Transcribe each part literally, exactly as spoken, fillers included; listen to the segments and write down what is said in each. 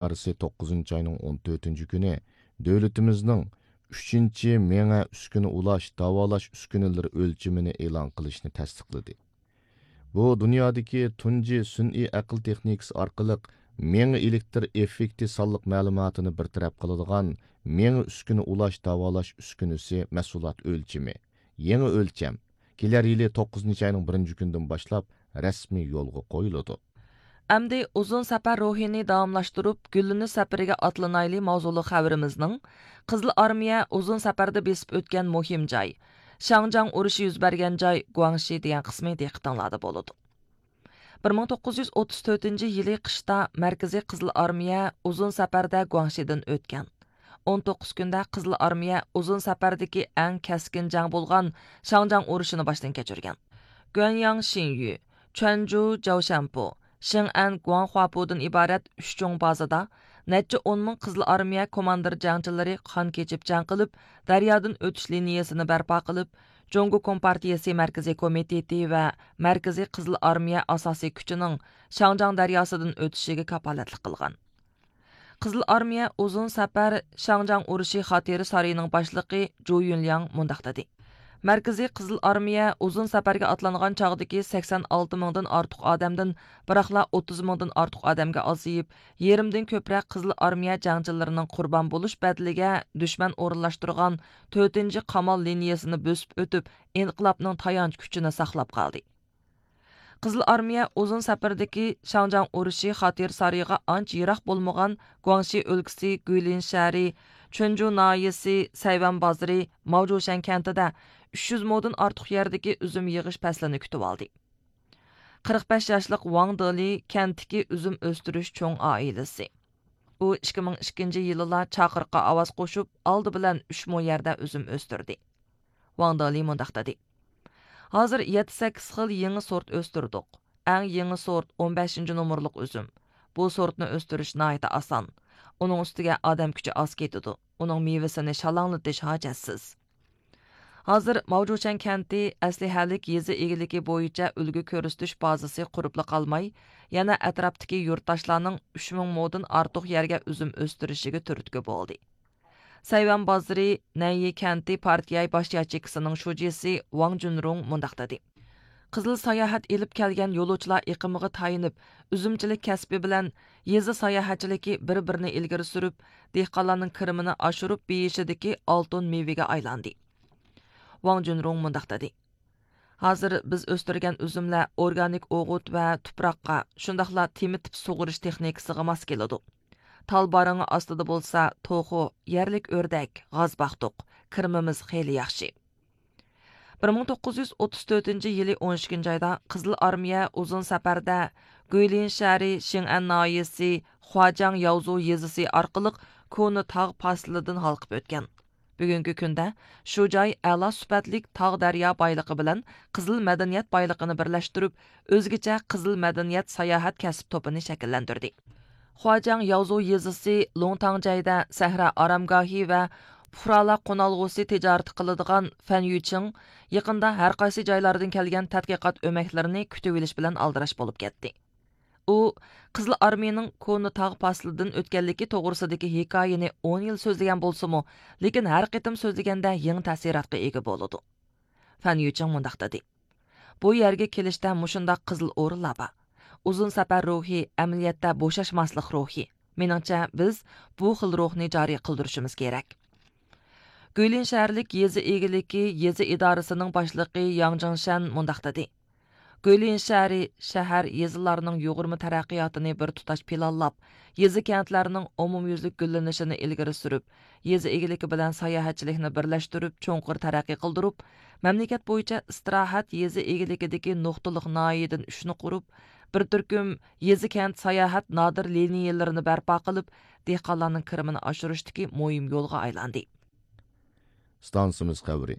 ئىدارىسى توققۇزىنچى ئاينىڭ ئون تۆتىنچى كۈنى دۆلىتىمىزنىڭ ئۈچىنچى مېڭە ئۈسكۈنە ئۇلاش، داۋالاش ئۈسكۈنىلىرى ئۆلچىمىنى ئېلان قىلىشنى تەستىقلىدى. بۇ دۇنيادىكى تۇنجى سۈنئىي ئەقىل تېخنىكىسى ئارقىلىق مېڭە ئېلېكتر ئېففېكتى سانلىق مەلۇماتىنى بىر تەرەپ قىلىدىغان مېڭە ئۈسكۈنە ئۇلاش، داۋالاش ئۈسكۈنىسى مەھسۇلات ئۆلچىمى، يېڭى ئۆلچەم، كېلەر يىلى توققۇزىنچى ئاينىڭ بىرىنچى كۈنىدىن باشلاپ رەسمىي يولغا قويۇلىدۇ. ئەمدى ئۇزۇن سەپەر روھىنى داۋاملاشتۇرۇپ، گۈللىنىش سەپىرىگە ئاتلىنايلى ماۋزۇلۇق خەۋىرىمىزنىڭ قىزىل ئارمىيە ئۇزۇن سەپەردە بېسىپ ئۆتكەن مۇھىم جاي، شاڭجياڭ ئۇرۇشى يۈز بەرگەن جاي گۇاڭشى دېگەن قىسمى دىققىتىڭلاردا بولىدۇ. بىر مىڭ توققۇز يۈز ئوتتۇز تۆتىنچى يىلى قىشتا مەركىزىي قىزىل ئارمىيە ئۇزۇن سەپەردە گۇاڭشىدىن ئۆتكەن. ئون توققۇز كۈندە قىزىل ئارمىيە ئۇزۇن سەپەردىكى ئەڭ كەسكىن جەڭ بولغان شاڭجياڭ ئۇرۇشىنى باشتىن كەچۈرگەن. گۇەنياڭ شىنيۈ، چۈەنجۇ جاۋشەنپۇ، شېڭئەن گۇاڭخۇاپۇدىن ئىبارەت ئۈچ چوڭ بازىدا نەچچە ئون مىڭ قىزىل ئارمىيە كوماندىر جەڭچىلىرى قان كېچىپ جەڭ قىلىپ، دەريادىن ئۆتۈش لىنىيىسىنى بەرپا قىلىپ، جۇڭگو كومپارتىيىسى مەركىزىي كومىتېتى ۋە مەركىزىي قىزىل ئارمىيە ئاساسىي كۈچىنىڭ شاڭجياڭ دەرياسىدىن ئۆتۈشىگە كاپالەتلىك قىلغان. قىزىل ئارمىيە ئۇزۇن سەپەر شاڭجياڭ ئۇرۇشى خاتىرە سارىيىنىڭ باشلىقى جۇ يۈنلياڭ مۇنداق دېدى: مەركىزىي قىزىل ئارمىيە ئۇزۇن سەپەرگە ئاتلانغان چاغدىكى سەكسەن ئالتە مىڭدىن ئارتۇق ئادەمدىن بىراقلا ئوتتۇز مىڭدىن ئارتۇق ئادەمگە ئازىيىپ، يېرىمدىن كۆپرەك قىزىل ئارمىيە جەڭچىلىرىنىڭ قۇربان بولۇش بەدىلىگە دۈشمەن ئورۇنلاشتۇرغان تۆتىنچى قامال لىنىيىسىنى بۆسۈپ ئۆتۈپ، ئىنقىلابنىڭ تايانچ كۈچىنى ساقلاپ قالدى. قىزىل ئارمىيە ئۇزۇن سەپەردىكى شاڭجياڭ ئۇرۇشى خاتىرە سارىيىغا ئانچە يىراق بولمىغان گۇاڭشى ئۆلكىسى گۇيلىن شەھىرى، چۈەنجۇ ناھىيەسى سەيۋەن بازىرى ماۋجۇشەن كەنتىدە ئۈچ يۈز مودىن ئارتۇق يەردىكى ئۈزۈم يىغىش پەسلىنى كۈتۈۋالدى. قىرىق بەش ياشلىق ۋاڭ دېلى كەنتتىكى ئۈزۈم ئۆستۈرۈش چوڭ ئائىلىسى. ئۇ ئىككى مىڭ ئىككىنچى يىلىلا چاقىرىققا ئاۋاز قوشۇپ، ئالدى بىلەن ئۈچ مو يەردە ئۈزۈم ئۆستۈردى. ۋاڭ دېلى مۇنداق دېدى: ھازىر يەتتە سەككىز خىل يېڭى سورت ئۆستۈردۇق. ئەڭ يېڭى سورت ئون بەشىنچى نومۇرلۇق ئۈزۈم. بۇ سورتنى ئۆستۈرۈش ناھايىتى ئاسان. ئۇنىڭ ئۈستىگە ئادەم كۈچى ئاز كېتىدۇ. ئۇنىڭ مېۋىسىنى شالاڭلىتىش ھاجەتسىز. ھازىر ماۋجۇشەن كەنتى ئەسلىھەلىك يېزا ئىگىلىكى بويىچە ئۈلگە كۆرسىتىش بازىسى قۇرۇپلا قالماي، يەنە ئەتراپتىكى يۇرتداشلارنىڭ ئۈچ مىڭ مودىن ئارتۇق يەرگە ئۈزۈم ئۆستۈرۈشىگە تۈرتكە بولدى. سەيۋەن بازىرى نەنيى كەنتى پارتىيە باش ياچېيكىسىنىڭ شۇجىسى ۋاڭ جۈنرۇڭ مۇنداق دېدى: قىزىل ساياھەت ئېلىپ كەلگەن يولۇچىلار ئېقىمىغا تايىنىپ، ئۈزۈمچىلىك كەسپى بىلەن يېزا ساياھەتچىلىكى بىر-بىرىنى ئىلگىرى سۈرۈپ، دېھقانلارنىڭ كىرىمىنى ئاشۇرۇپ، بېيىشىدىكى ئالتۇن مېۋىگە ئايلاندى. ۋاڭ جۈنرۇڭ مۇنداق دېدى: ھازىر بىز ئۆستۈرگەن ئۈزۈملەر ئورگانىك ئوغۇت ۋە تۇپراققا، شۇنداقلا تېمىتىپ سۇغىرىش تېخنىكىسىغا ماس كېلىدۇ. تال بارىڭى ئاستىدا بولسا توخۇ، يەرلىك ئۆردەك، غاز باقتۇق. كىرىمىمىز خېلى ياخشى. بىر مىڭ توققۇز يۈز ئوتتۇز تۆتىنچى يىلى ئون ئىككىنچى ئايدا قىزىل ئارمىيە ئۇزۇن سەپەردە گۇيلىن شەھىرى شىڭئەن ناھىيەسى خۇاجياڭ ياۋزۇ يېزىسى ئارقىلىق كونا تاغ پاسىلىدىن ھالقىپ ئۆتكەن. بۈگۈنكى كۈندە شۇ جاي ئەلا سۈپەتلىك تاغ دەريا بايلىقى بىلەن قىزىل مەدەنىيەت بايلىقىنى بىرلەشتۈرۈپ، ئۆزگىچە قىزىل مەدەنىيەت ساياھەت كەسىپ توپىنى شەكىللەندۈردى. خۇاجياڭ ياۋزۇ يېزىسى لۇڭتاڭجەيدە سەھرا ئارامگاھى ۋە پۇقرالار قونالغۇسى تىجارىتى قىلىدىغان فەن يۈچىڭ يېقىندا ھەرقايسى جايلاردىن كەلگەن تەتقىقات ئۆمەكلىرىنى كۈتۈۋېلىش بىلەن ئالدىراش بولۇپ كەتتى. ئۇ قىزىل ئارمىيىنىڭ كونا تاغ پاسىلىدىن ئۆتكەنلىكى توغرىسىدىكى ھېكايىنى ئون يىل سۆزلىگەن بولسىمۇ، لېكىن ھەر قېتىم سۆزلىگەندە يېڭى تەسىراتقا ئىگە بولىدۇ. فەن يۈچىڭ مۇنداق دېدى: بۇ يەرگە كېلىشتە مۇشۇنداق قىزىل ئورۇنلار بار. ئۇزۇن سەپەر روھى، ئەمەلىيەتتە بوشاشماسلىق روھى. مېنىڭچە، بىز بۇ خىل روھنى جارى قىلدۇرۇشىمىز كېرەك. گۈيلىن شەھەرلىك يېزا ئىگىلىكى يېزا ئىدارىسىنىڭ باشلىقى ياڭ جىڭشەن مۇنداق دېدى: گۈيلىن شەھىرى شەھەر، يېزىلارنىڭ يۇغۇرما تەرەققىياتىنى بىر تۇتاش پىلانلاپ، يېزا، كەنتلەرنىڭ ئومۇميۈزلۈك گۈللىنىشىنى ئىلگىرى سۈرۈپ، يېزا ئىگىلىكى بىلەن ساياھەتچىلىكنى بىرلەشتۈرۈپ، چوڭقۇر تەرەققىي قىلدۇرۇپ، مەملىكەت بويىچە ئىستىراھەت يېزا ئىگىلىكىدىكى نۇقتىلىق ناھىيەدىن ئۈچنى قۇرۇپ، بىر تۈركۈم يېزا، كەنت ساياھەت نادىر لىنىيەلىرىنى بەرپا قىلىپ، دېھقانلارنىڭ كىرىمىنى ئاشۇرۇشتىكى مۇھىم يولغا ئايلاندى. ئىستانسىمىز خەۋىرى.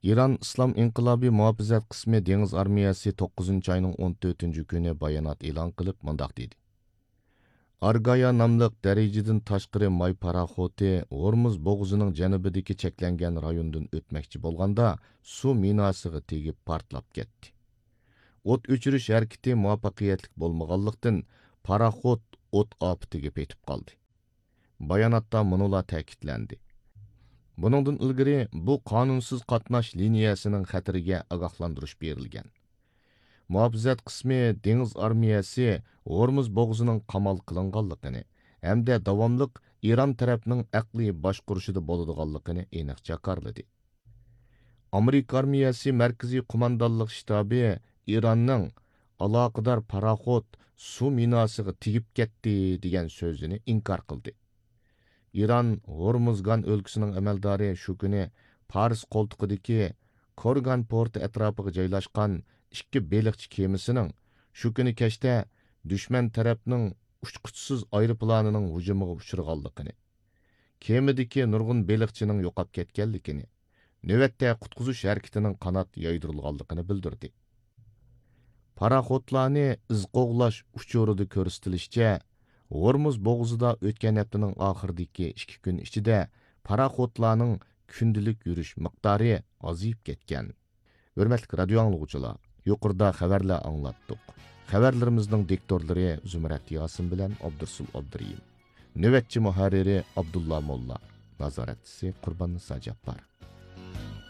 ئىران ئىسلام ئىنقىلابى مۇھاپىزەت قىسمى دېڭىز ئارمىيەسى توققۇزىنچى ئاينىڭ ئون تۆتىنچى كۈنى بايانات ئېلان قىلىپ، مۇنداق دېدى: ئارگايا ناملىق دەرىجىدىن تاشقىرى ماي پاراخوتى ھورمۇز بوغۇزىنىڭ جەنۇبىدىكى چەكلەنگەن رايوندىن ئۆتمەكچى بولغاندا، سۇ مىناسىغا تېگىپ پارتلاپ كەتتى. ئوت ئۆچۈرۈش ھەرىكىتى مۇۋەپپەقىيەتلىك بولمىغانلىقتىن، پاراخوت ئوت ئاپىتىگە پېتىپ قالدى. باياناتتا مۇنۇلار تەكىتلەندى: بۇنىڭدىن ئىلگىرى بۇ قانۇنسىز قاتناش لىنىيەسىنىڭ خەتىرىگە ئاگاھلاندۇرۇش بېرىلگەن. مۇھاپىزەت قىسمى دېڭىز ئارمىيەسى ھورمۇز بوغۇزىنىڭ قامال قىلىنغانلىقىنى ھەمدە داۋاملىق ئىران تەرەپنىڭ ئەقلىي باشقۇرۇشىدا بولىدىغانلىقىنى ئېنىق جاكارلىدى. ئامېرىكا ئارمىيەسى مەركىزىي قوماندانلىق شتابى ئىراننىڭ ئالاقىدار پاراخوت سۇ مىناسىغا تېگىپ كەتتى دېگەن سۆزىنى ئىنكار قىلدى. ئىران ھورمۇزگان ئۆلكىسىنىڭ ئەمەلدارى شۇ كۈنى پارس قولتۇقىدىكى كورگان پورتى ئەتراپىغا جايلاشقان ئىككى بېلىقچى كېمىسىنىڭ شۇ كۈنى كەچتە دۈشمەن تەرەپنىڭ ئۇچقۇچىسىز ئايروپىلانىنىڭ ھۇجۇمىغا ئۇچرىغانلىقىنى، كېمىدىكى نۇرغۇن بېلىقچىنىڭ يوقاپ كەتكەنلىكىنى، نۆۋەتتە قۇتقۇزۇش ھەرىكىتىنىڭ قانات يايدۇرۇلغانلىقىنى بىلدۈردى. پاراخوتلارنى ئىز قوغلاش ئۇچۇرىدا كۆرسىتىلىشىچە، ھورمۇز بوغۇزىدا ئۆتكەن ھەپتىنىڭ ئاخىرىدىكى ئىككى كۈن ئىچىدە پاراخوتلارنىڭ كۈندىلىك يۈرۈش مىقدارى ئازىيىپ كەتكەن. ھۆرمەتلىك رادىيو ئاڭلىغۇچىلار، يۇقىرىدا خەۋەرلەر ئاڭلاتتۇق. خەۋەرلىرىمىزنىڭ دىكتورلىرى زۇمرەت ياسىن بىلەن ئابدۇرسۇل ئابدۇرېھىم. نۆۋەتچى مۇھەررىرى ئابدۇللا موللا. نازارەتچىسى قۇرباننىسا جاپپار.